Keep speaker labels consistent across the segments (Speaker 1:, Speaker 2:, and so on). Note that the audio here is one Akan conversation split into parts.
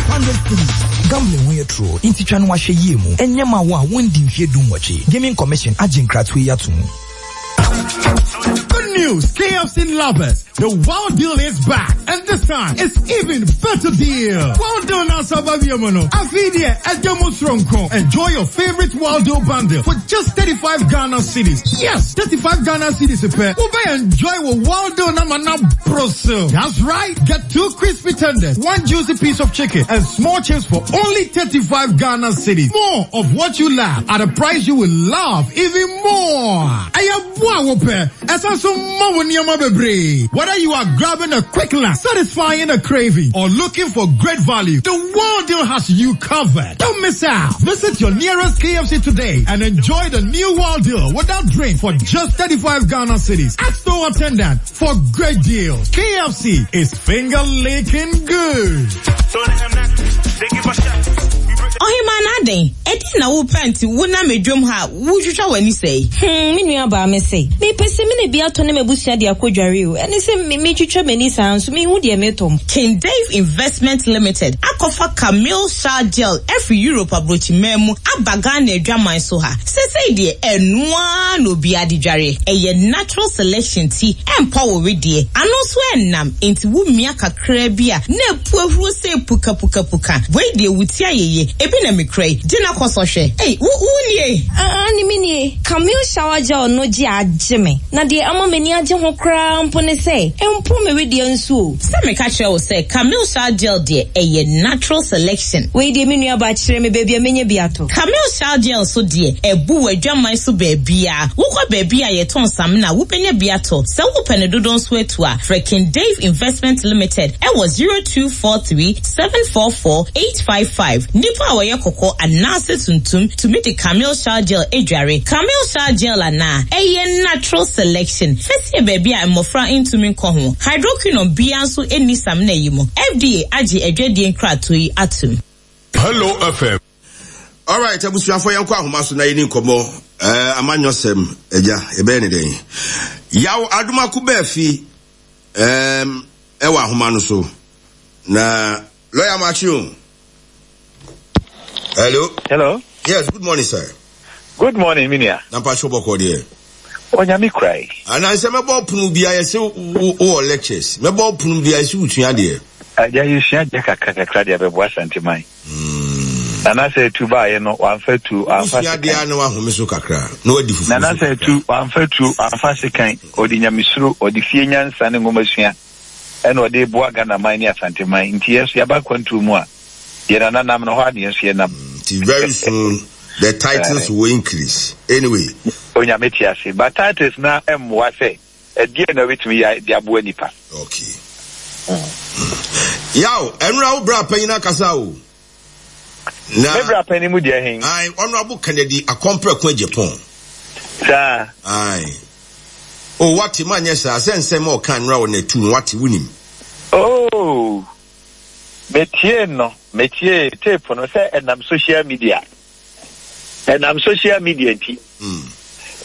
Speaker 1: 500 cedis. Gambling ho yɛ toro, nti twa no ahwɛ yie mu. Ɛnyɛ ma wo a wondi mfeɛ dunwɔtwe. Gaming Commission agye nkratoɔ yi ato mu.
Speaker 2: Good news, KFC lovers. The Wild Deal is back, and this time it's even better deal. Wild Deal na Sababiamono. Afidia Edemusronko. Enjoy your favorite Wild Deal bundle for just 35 Ghana cedis. Yes, 35 Ghana cedis a pair. Ube enjoy with Wild Deal namana brosil. That's right. Get two crispy tenders, one juicy piece of chicken, and small chips for only 35 Ghana cedis. More of what you love at a price you will love even more. Whether you are grabbing a quick lunch, satisfying a craving, or looking for great value, the World Deal has you covered. Don't miss out. Visit your nearest KFC today and enjoy the new World Deal without drink for just 35 Ghana cedis. Ask store attendant for great deals. KFC is finger licking good.
Speaker 3: Ɔhemaa no adɛn? Ɛdeɛn na wopɛ nti wonam adwam ha a wotwitwa w'ani sɛɛ?
Speaker 4: Hmm, me nua baa me se, mepɛ samina bi atɔ ne m'abusua de akɔ dware o, ɛne sɛ me metwitwa m'ani saa nso menhu deɛ metɔ mpo.
Speaker 3: King Dave Investment Limited akɔfa Camille Shower Gel afiri Europe aburokyiman mu aba Ghana adwaman so ha. Sesei deɛ ɛno ara na obiara de dware. Ɛyɛ natural selection ti ɛmpa wo wedeɛ. Ano nso ɛnnam enti wo mia kakraa bi a na apu ahuro sei pukapukapuka. Wei deɛ wo ti ayɛ yie. Ebi na mekura yi. Gye na kɔ sɔ hwɛ. Ei wo wo nie?
Speaker 4: Aane me nie. Camille shower gel no gye agye me. Na deɛ ama m'ani agye ho koraa mpo ne sɛ ɛmpo me wedeɛ nso o.
Speaker 3: Sɛ meka kyerɛ wo sɛ Camille shower gel deɛ ɛyɛ natural selection.
Speaker 4: Wei deɛ me nua baa kyerɛ me baabi a mɛnya bi atɔ.
Speaker 3: Camille shower gel nso deɛ ɛbu w'adwaman so baabiara. Wokɔ baabi a yɛtɔn samina a wobɛnya bi atɔ. Sɛ wopɛ no dodoɔ nso atu a, frɛ King Dave Investment Limited wɔ 0243 744 855. Nnipa a wɔyɛ kɔkɔɔ anaasɛ tuntum tumi de Camille shower gel dware. Camille shower gel anaa? Ɛyɛ natural selection. Fa sie baabi a mmɔfra ntumi nkɔ ho. Hydroquinone biara nso nni samina yi mu. FDA agye adwadie nkratoɔ yi atom.
Speaker 5: Hello FM.
Speaker 6: Alright, abusuafo yɛnkɔ ahoma so na yɛni nkɔmmɔ eh, amanyɔsɛm agya yɛbɛyɛ ne dɛn yaw adomako baafi um, ɛwɔ ahoma no so na lɔya makye o hello
Speaker 7: hello
Speaker 6: yes good morning sir
Speaker 7: good morning minia
Speaker 6: na mpakyɛ bɔkɔ deɛ
Speaker 7: Onyame kura yi.
Speaker 6: Anaasɛ mɛbɔ pono bi ayɛ sɛ wowɔ lectures mɛbɔ pono bi ayɛ sɛ wosua adeɛ.
Speaker 7: Agya yɛsua adeɛ kakra kakra de abɛboa Asanteman. Nana sɛ atu baeɛ no wamfa tuo wamfa
Speaker 6: Wosua adeɛ
Speaker 7: sekan.
Speaker 6: a na wahome so kakra na wadi fufuo
Speaker 7: Nana
Speaker 6: so
Speaker 7: sɛ
Speaker 6: kakra.
Speaker 7: atu wamfa tuo wamfa sekan ɔde nyamesuro ɔde fie nyansa ne nwomasua ɛna ɔde reboa Ghana man ne Asanteman nti yɛn nso yɛaba akwantuo mu a deɛ Nana nam no hɔ ara na yɛn nso yɛnam.
Speaker 6: Nti very soon the titles will increase anyway.
Speaker 7: Onyame te ase but titles no mmoa sɛ ɛdeɛn na wobɛtumi yɛ de aboa nipa.
Speaker 6: Okay. Yaw, ɛnora wo bra panyin akasa o.
Speaker 7: Na Me bra panyin mu deɛ hen?
Speaker 6: Aye, Honorable Kennedy Akompreko Agyapong.
Speaker 7: Saa.
Speaker 6: Aye. Oh, wate ma nyɛ saa sɛ nsɛm a ɔka nnora wɔ n'atu no wate wonim.
Speaker 7: Oh. Metiee no, metiee tape no sɛ ɛnam social media. Ɛnam social media nti. Mm.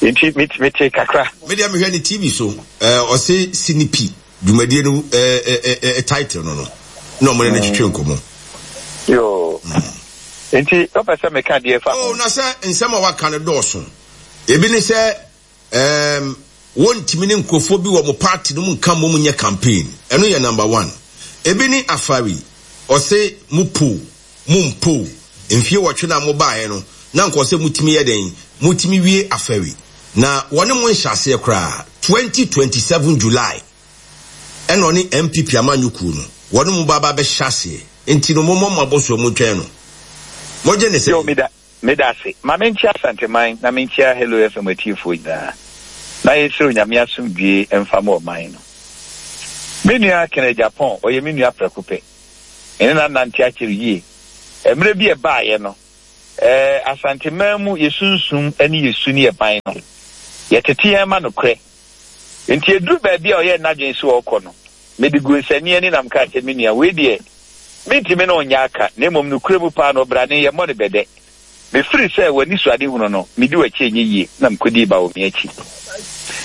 Speaker 7: Nti metee kakra.
Speaker 6: Me deɛ mehwɛ ne TV so, eh, ɔse sinipi dwumadie no eh, eh, eh, eh, title no no. Na ɔmo ne no twetwe nkɔmmɔ.
Speaker 7: Yoo. Mm. Nti wopɛ sɛ meka deɛ fa ho?
Speaker 6: Oh, na sɛ nsɛm a waka no dɔɔso. Ebi ne sɛ Erm wontumi ne nkurɔfoɔ bi wɔ mo party no mu nka mmom nyɛ campaign. Ɛno yɛ number one. Ebi ne Afari, ɔse mo po, mo mpo, mfie wɔtwe no a mo baeɛ no na nka ɔsɛ motumi yɛ dɛn, motumi wie Afari. Na wɔne mo nhyɛ aseɛ koraa, 2027 July ɛna ɔne NPP amanyɔkuo no wɔne mo ba ba bɛhyɛ aseɛ. Nti no mommɔ mo abɔsoɔ mu ntwɛn no. Mogye ne
Speaker 7: Yo,
Speaker 6: sɛn?
Speaker 7: meda Meda ase. Ma menkyia Asanteman na menkyia Hello FM atiefoɔ nyinaa. Na yɛnsrɛ Onyame asomdwie mfa ma ɔman no. Me nua Ken Agyapong, ɔyɛ me nua prɛko pɛ. Me ne no anante akyɛre yie. Mmerɛ bi a ɛbaeɛ no, eh, Asanteman mu yɛ sunsum ne yɛ su ne yɛ ban no, yɛtete yɛn ma nokorɛ. Nti ɛduru baabi a ɔyɛɛ n'adwene sɛ ɔrekɔ no, Mede guu nsania ani na mekaa sɛ, Me nua, wei deɛ, mentumi ne wo nyɛ aka, na mmom nokorɛ mu paa no, ɔbrane, yɛmmɔ no bɛdɛ. Mefiri sɛ w'anisoadehunu no, medi w'akyi ɛnyɛ yie, na mekɔdii Bawumia akyi.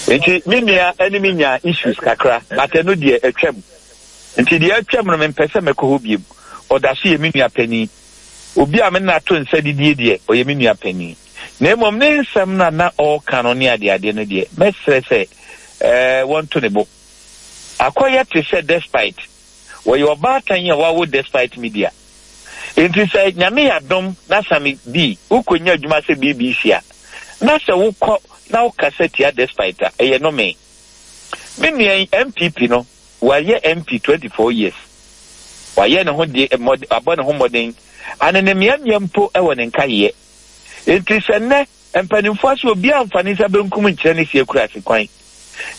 Speaker 7: Nti me nua ne me nyaa issues kakra, but ɛno deɛ atwam. Nti deɛ atwam no, mempɛ sɛ mɛkɔ hɔ biom. ɔda so yɛ me nua panin. Obi a me ne no ato nsa didie deɛ, ɔyɛ me nua panin. Na mmom ne nsɛm no a na ɔreka no ne adeadeɛ no deɛ, mɛsrɛ sɛ eh, wɔnto ne bo. Akɔyɛ te sɛ Despite. Wɔyɛ ɔbaatan a wawo Despite Media. Enti sɛ Nyame yɛ adom na Sammy B wokɔnya adwuma sɛ BBC a, na sɛ wokɔ na wokasa tia Despite a, ɛyɛ nnome. Me nua yi, NPP no, wayɛ MP 24 years. Wayɛ ne ho deɛ, mmɔde, wabɔ ne ho mmɔden. Anenemeamea mpo wɔ ne nkayeɛ. Enti sɛ nnɛ, mpanimfoɔ ase obiara mfa ne nsa benkum nkyerɛ ne sie kurase kwan,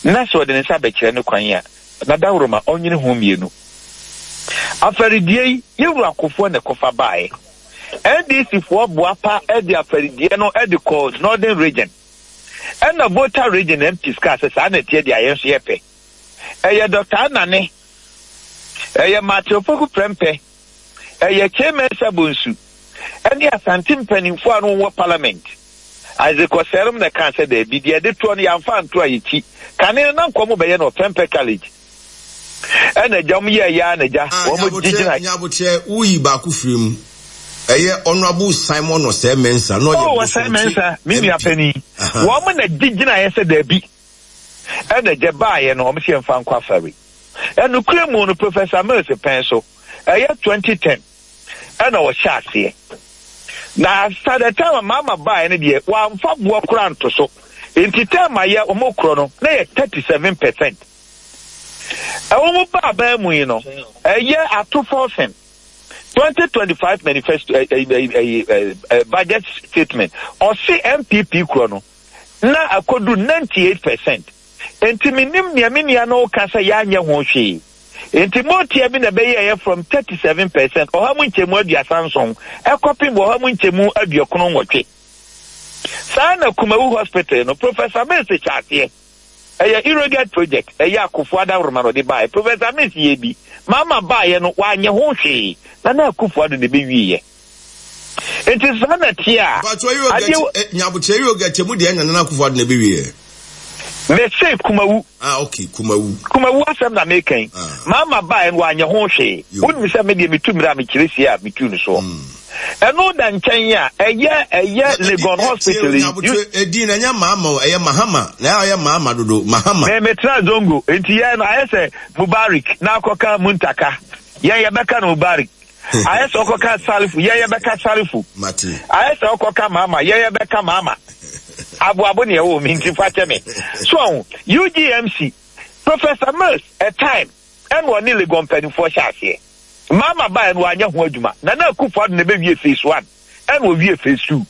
Speaker 7: na sɛ ɔde ne nsa bɛkyerɛ no kwan a, na dawuroma ɔnwene ho mmienu. Afaridie yi, yɛn wura Kufuor na ɛkɔfa baeɛ. NDC foɔ boapa de afaridie no de kɔɔ Northern Region. Ɛna Volta Region MPs kaa sɛ saa na ɛteɛ deɛ a yɛn nso yɛpɛ. Ɛyɛ Dɔkta Anane, ɛyɛ Martin Opoku Prempeh, ɛyɛ Kyei Mensah Bonsu ɛne Asante mpanimfoɔ a na wɔwɔ parliament. Isaac Osei-Rom na ɛkaa sɛ daabi, deɛ yɛde toɔ no yɛamfa anto a yɛkyi. Kane no na nka wɔbɛyɛ no wɔ Prempeh College. Ɛna agya wɔn yɛɛ yɛ ara na agya
Speaker 6: Ah,
Speaker 7: wɔn
Speaker 6: Nyabotrɛ,
Speaker 7: gyinae.
Speaker 6: Nyabotrɛ, woyi baako firi mu. Ɛyɛ Honourable Simon Osei Mensah, na ɔyɛ
Speaker 7: Oh, Osei
Speaker 6: Bosomtwe
Speaker 7: Mensah, me nua
Speaker 6: MP.
Speaker 7: panin.
Speaker 6: Aha.
Speaker 7: Wɔn na gye gyinaeɛ sɛ daabi. Ɛna agya baeɛ no, wɔn sɛ yɛmfa nkɔ afari. Ɛnokorɛ mu no, Professor Mills pɛn so, ɛyɛ 2010 ɛna ɔhyɛ aseɛ. Na after the time a Mahama baeɛ no deɛ, wɔamfa boɔ koraa anto so. Nti term a yɛ wɔn korɔ no, na yɛ 37 percent. Ɛwɔ mu ba aban mu yi no, ɛyɛ ato forcing. 2025 manifesto eh, eh, eh, eh, eh, budget statement ɔse NPP korɔ no na akɔdu 98 percent. Nti menim nea me nua no ka sɛ yɛanyɛ ho hwee. Nti motia bi na ɛbɛyɛeɛ from 37 percent ɔha mu nkyɛmu 37 ɛkɔpem ɔha mu nkyɛmu 98. Saa na Kumawu Hospital no Professor Mills hyɛ aseɛ. Ɛyɛ Irrigate project, ɛyɛ Akufo Adaworoma na ɔde baeɛ. Professor Mills yɛɛ bi. Mahama baeɛ no, wanyɛ ho hwee. Nana Akufo Addo na ɛbɛwieɛ. Nti saa na ɛteɛ a,
Speaker 6: Mpakyɛ Irrigate,
Speaker 7: adeɛ
Speaker 6: eh, Nyabokyerɛ Irrigate mu deɛ na Nana Akufo Addo na ɛbɛwieɛ.
Speaker 7: Mese Kumawu.
Speaker 6: Ah, okay, Kumawu.
Speaker 7: Kumawu asɛm na meka yi.
Speaker 6: Ah.
Speaker 7: Mahama baeɛ no, wanyɛ ho hwee.
Speaker 6: Yo.
Speaker 7: Wonim sɛ me deɛ metu mmerɛ a mekyerɛ sie a metu no soɔ. Ɛno da nkyɛn a, ɛyɛ ɛyɛ Legon Hospital yi.
Speaker 6: Edin na ɛnyɛ Mahama o, ɛyɛ Mahama. Na ɛyɛ Mahama dodo, Mahama.
Speaker 7: Me metra Zongo, nti yɛn no ayɛ sɛ Mubarik na akɔka Muntaka. Yɛn yɛbɛka no Mubarik. Ayɛ sɛ ɔkɔka Salifu, yɛn yɛbɛka Salifu.
Speaker 6: Mate.
Speaker 7: Ayɛ sɛ ɔkɔka Mahama, yɛn yɛbɛka Mahama. Aboabo ne ɛwɔ mi nti fa kyɛ me. So ɔho, UGMC, Professor Mills, a time, ɛna ɔne Legon mpanimfoɔ hyɛ aseɛ. Mahama baeɛ no wanyɛ ho adwuma. Nana Akufo Addo na ɛbɛwie phase one ɛna ɔwie phase two.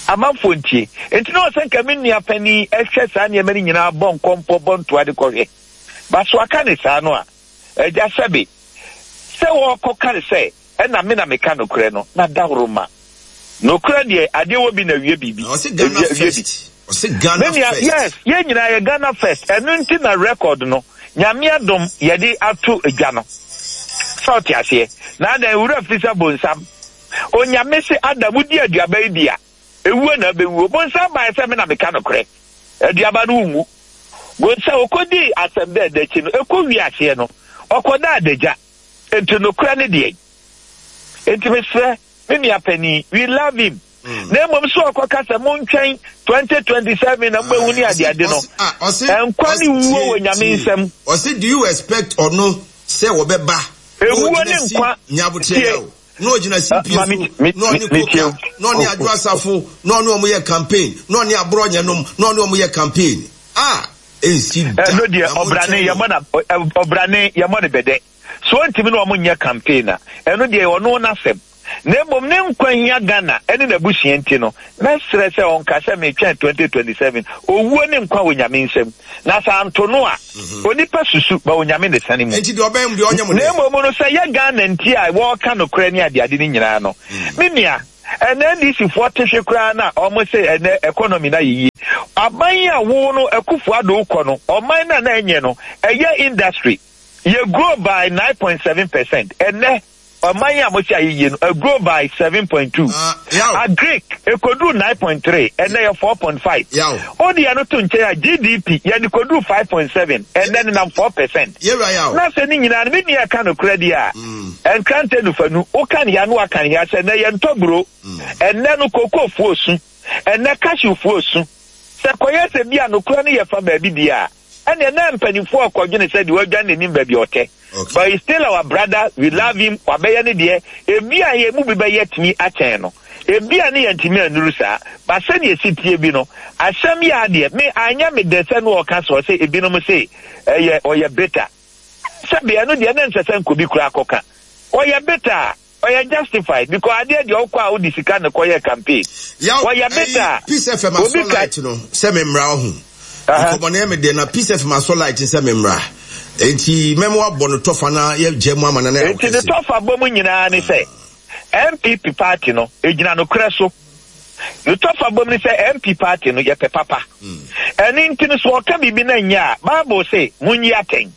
Speaker 7: Amanfoɔ ntie. Nti na ɔsɛ nka me nua panin ɛhwɛ saa nneɛma no nyinaa bɔ nkɔmpɔ bɔ ntoa de kɔhwɛ. Ba so aka ne saa no a, agya sɛbe sɛ wɔkɔka ne sɛ ɛna me na meka nokorɛ no na daworo ma. Nokorɛ deɛ adeɛ wɔ bi na wie biribi.
Speaker 6: Na ɔse Ghana
Speaker 7: Wie bi.
Speaker 6: first. Ɔse Ghana
Speaker 7: Me nua,
Speaker 6: first.
Speaker 7: yes, yɛn nyinaa yɛ Ghana first. Ɛno nti na record no, Nyame adom, yɛde ato dwa no. Sɛ ɔte aseɛ. Na adɛn, wura firi sɛ bonsam. Onyame se Adam, wodi aduaba yi bi a, ewuo na abɛwuo. Bonsam baeɛ sɛ me na meka nokorɛ. Aduaba no wonwu. Bonsam, ɔkɔdii asɛm dɛɛdɛ akyi no, ɛkɔ wie aseɛ no, ɔkɔdaa adagya. Enti nokorɛ ne deɛn? Enti mesrɛ, me nua panin, we love him. Na mmom sɛ ɔkɔka sɛ montwɛn 2027 na mobɛhu ne adeade no, nkwa ne wuo wɔ Nyame nsam.
Speaker 6: Ɔse do you expect ɔno sɛ wɔbɛba na
Speaker 7: Ewuo ne
Speaker 6: ɔgyina si
Speaker 7: nkwa
Speaker 6: nyabotrɛ
Speaker 7: tie.
Speaker 6: ya o na ɔgyina
Speaker 7: Ah,
Speaker 6: CPA
Speaker 7: ma
Speaker 6: so
Speaker 7: me me
Speaker 6: na ɔne
Speaker 7: me tie
Speaker 6: Koka
Speaker 7: o.
Speaker 6: na ɔne Adwo Asafo na ɔne ɔmo yɛ campaign na ɔne Aborɔnyɛ nom na ɔne ɔmo yɛ campaign a ɛnsi da
Speaker 7: Ɛno deɛ
Speaker 6: na
Speaker 7: ɔbrane
Speaker 6: montwɛn no.
Speaker 7: yɛmmɔ na ɔbrane yɛmmɔ no bɛdɛ. So ɔntumi ne wɔn nyɛ campaign a, ɛno deɛ ɛyɛ ɔno n'asɛm. Na mmom ne nkwa hia Ghana ne n'abusua nti no, mɛsrɛ sɛ ɔnka sɛ metwɛn 2027. Owuo ne nkwa wɔ Nyame nsam. Na sɛ anto no a, onipa susu, but Onyame na ɛsane mu.
Speaker 6: Enti deɛ ɔbɛn mu deɛ ɔnyɛ mo
Speaker 7: Na
Speaker 6: dɛ.
Speaker 7: mmom no sɛ ɛyɛ Ghana nti a wɔreka nokorɛ ne adeade no nyinaa no, me nua, ɛnɛ NDC foɔ te hwe koraa no a wɔn se ɛnɛ economy no ayɛ yie. Aban yi a wo no Akufo Addo wokɔ no, ɔman no a na ɛnyɛ no, ɛyɛ industry. Yɛ grow by 9.7 percent. Ɛnɛ. Ɔman a mose ayɛ yie no, agrow by 7.2. Agric, ɛkɔduruu 9.3, ɛnnɛ yɛ 4.5. Wode ɛno to nkyɛn a, GDP, yɛde kɔduruu 5.7, ɛnnɛ nenam 4 percent. Na sɛ ne nyinaa no, me nua ɛka nokorɛ deɛ a, nkrantɛ nufanu, woka ne ha na waka ne ha sɛ ɛnnɛ yɛntɔ buro, ɛnnɛ no kokofoɔ su, ɛnnɛ cashewfoɔ su. Sɛ ɛkɔyɛ sɛ bi a nokorɛ no yɛ fa baabi deɛ a, Ɛnneɛ na mpaninfoɔ rekɔdwene sɛ deɛ wadwane n'anim baabi a ɔtɛ. But he's still our brother, we love him, wabɛyɛ ne deɛ, ebia yɛn mu bi bɛyɛ tumi akyɛn no, ebia ne yɛntumi annuru saa, but sɛdeɛ ɛsi teɛ bi no, asɛm yi ara deɛ, me anyɛ me dɛ sɛ na ɔka sɛ ɔsɛ ebinom se ɛyɛ ɔyɛ bitter. Sɛbe ɛno deɛ na ɛnsɛ sɛ nka obi koraa kɔka. Ɔyɛ bitter a, Ɔyɛ justified because adeɛ deɛ ɔkɔ a wode sika na kɔyɛ campaign.
Speaker 6: Yaw
Speaker 7: Ɔyɛ bitter
Speaker 6: ɛyi
Speaker 7: a
Speaker 6: Peace FM
Speaker 7: obi
Speaker 6: asɔ
Speaker 7: ka.
Speaker 6: light no sɛ me mmra ɔho
Speaker 7: Aha.
Speaker 6: nkɔmɔ no yɛ me dɛ na Peace FM asɔ light no sɛ me mmra enti mɛma wabɔ no tɔfa na yɛ gya mu ama no na yɛ
Speaker 7: Enti ne
Speaker 6: kɛse.
Speaker 7: tɔfa bɔ mu nyinaa ne sɛ NPP party no egyina nokorɛ so. Ne tɔfa bɔ mu ne sɛ MP party no yɛpɛ papa. Ɛno nti no sɛ ɔka biribi na ɛnyɛ a Bible se monyi atɛn.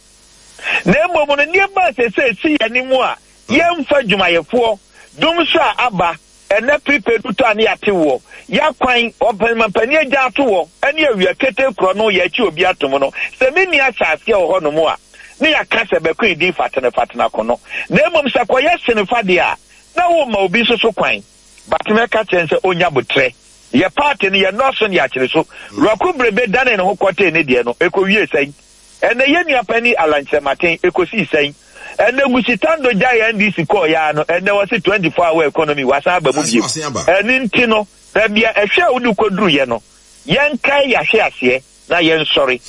Speaker 7: Na mmom no nneɛma a seesei esi yɛn anim a Yɛmfa adwumayɛfoɔ, dum so a aba, ɛnɛ prepaid wotɔ a ne yɛate woɔ, yɛakwan, ɔmampanin agya ato hɔ, ɛne awia ketee korɔ no yɛakyi obi atom no, sɛ menni ahyɛaseɛ wɔ hɔ nom a, ne yɛaka sɛ bɛko edin fatene fatene akono. Na mmom sɛ kɔyɛ sene fa deɛ a, na woma obi nso so kwan. But mɛka kyerɛ no sɛ ɔnya botrɛ. Yɛ party no yɛnnɔɔso ne yɛakyere so. Rɔko Brebe danee ne ho kɔtee ne deɛ no, ɛkɔwiee sɛn? Ɛnɛ yɛn nua panin Allan Kyerematen, ɛkɔsii sɛn? Ɛnɛ Gucci Tando gyaee NDC kɔɔeɛ ara no, ɛnɛ wɔse 24 hour economy, wasan aba mu bio. Ɛno nti no, baabi a ɛhwɛ a wode kɔduruiɛ no, yɛnkae yɛahweaseɛ na yɛnsɔre.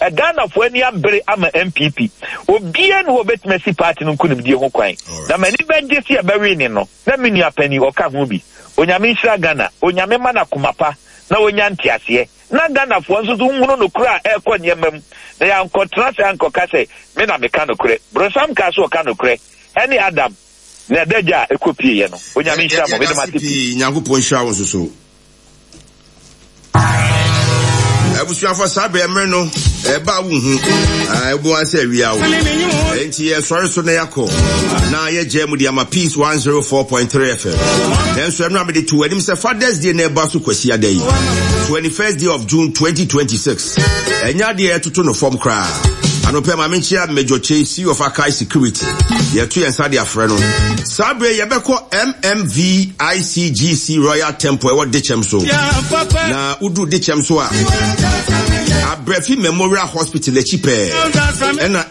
Speaker 7: Ghanafoɔ ani abere ama NPP. Obiara nni hɔ a ɔbɛtumi asi party no nkunimdie ho kwan. Na m'ani bɛgye sɛ yɛbɛwene no, na me nua panin ɔka ho bi. Onyame nhyira Ghana. Onyame mma no akoma pa na ɔnya nteaseɛ. Na Ghanafoɔ nso so nhunu nokorɛ a ɛrekɔ nneɛma mu, na yɛankɔtena ase ankɔka sɛ, Me na meka nokorɛ. Bronsam kaa sɛ ɔka nokorɛ, ɛne Adam, na adagya a ɛkɔpieeɛ no. Onyame nhyira mo. Meda mo
Speaker 6: Yɛdase
Speaker 7: ase pii.
Speaker 6: pii. Nyankopɔn nhyira wo nso so. Abusuafo saa bere mmere no ɛba a wonhu ɛbo ara sɛ awia wo enti yɛsɔre so na yɛakɔ na yɛgya mu de ama Peace 104.3 FM nanso ɛno a mede to anim sɛ Father's Day na ɛba so kwasi ada yi 21st day of June 2026 ɛnyɛ adeɛ ɛtoto no fam koraa anɔpɛ ma menkyia Major Chase CEO of Akai Security yɛto yɛn nsa de afrɛ no Saa bere yi yɛbɛkɔ MMVICGC Royal Temple ɛwɔ Dekyɛm so. Na woduru Dekyɛm so a, Abrɛfi Memorial Hospital akyi pɛɛ ɛna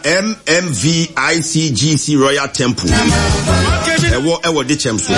Speaker 6: MMVICGC Royal Temple ɛwɔ ɛwɔ Dekyɛm so.